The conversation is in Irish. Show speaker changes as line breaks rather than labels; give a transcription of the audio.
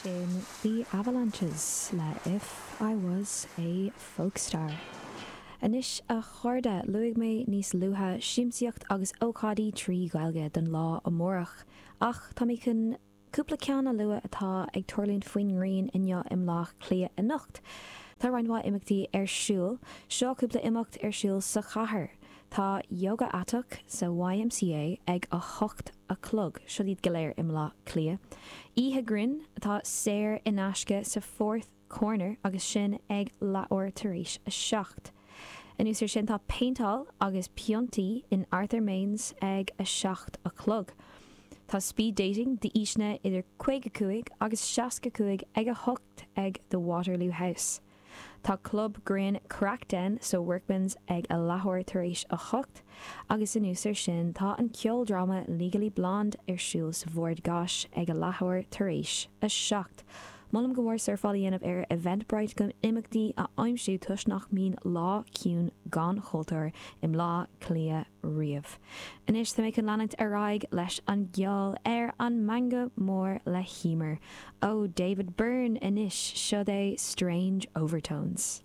Sin The Avalanches le If I Was A Folkstar. Anois a chairde, luaigh mé níos luaithe siamsaíocht agus ócáidí trí Ghaeilge don lá amárach, ach tá mé chun cúpla ceann a lua atá ag tarlúint faoin ngrian inniu i mBleá Cliath anocht. Tá roinnt mhaith imeachtaí ar siúl. Seo cúpla imeacht ar siúl sa chathair. Tá Yoga Aiteach sa YMCA ag 8 a chlog, seo iad go léir i mBleá Cliath. Oíche Grinn atá saor in aisce sa Fourth Corner agus sin ag leathuair tar éis a 7. Anuas ar sin tá péinteáil agus piontaí in Arthur Mains ag 7 a chlog. Tá Speed Dating d'aoiseanna idir 55 agus 65 ag 8 ag The Waterloo House. Tá Club Grinn Craic Den sa Workman's ag a leathuair tar éis a 8 agus anuas ar sin tá an ceoldráma Legally Blonde ar siúl sa Bhord Gáis ag a leathuair tar éis a 7. Molaim go mór surfáil a dhéanamh ar Eventbrite chun imeachtaí a aimsiú toisc nach mbíonn lá ciúin gan chultúr i mBleá Cliath riamh. Anois tá mé chun leanúint ar aghaidh leis an gceol ar an Meangadh Mór le hEmer. Ó David Byrne anois, seod é Strange Overtones.